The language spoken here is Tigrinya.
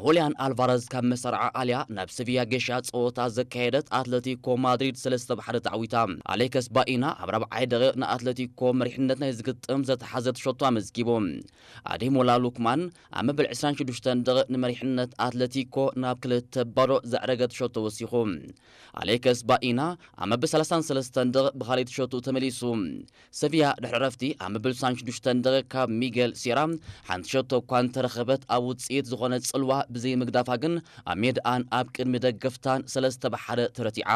ሆሊያን ኣልቫረዝ ካብ መሰርዓ ኣልያ ናብ ሰቪያ ጌሻ ጸወታ ዘካየደት ኣትለቲኮ ማድሪድ ሰለስተ ብ ሓደ ተዓዊታ። ኣሌክስ ባኢና ኣብ ራብዓይ ደቂቕ ንኣትለቲኮ መሪሕነት ናይ ዝግጥም ዘተሓዘት ሸቶ ኣመዝጊቡ። ኣዴሞላ ሉክማን ኣብ መበል ዕስራን ሽዱሽተን ደቂቕ ንመሪሕነት ኣትለቲኮ ናብ ክልተ ባዶ ዘዕረገት ሸቶ ወሲኹ። ኣሌክስ ባኢና ኣብ መበል ሰላሳን ሰለስተን ደቂቕ ብኻልኣይቲ ሸቶ ተመሊሱ። ሰቪያ ድሕሪ ዕረፍቲ ኣብ መበል ስሳን ሽዱሽተን ደቂቕ ካብ ሚጌል ሴራ ሓንቲ ሸቶ እኳ እንተረኸበት፣ ኣብ ውጽኢት ዝኾነ ጽልዋ ብዘይምግዳፋ ግን ኣብ ሜድኣን ኣብ ቅድሚ ደገፍታን ሰለስተ ብ ሓደ ተረቲዓ።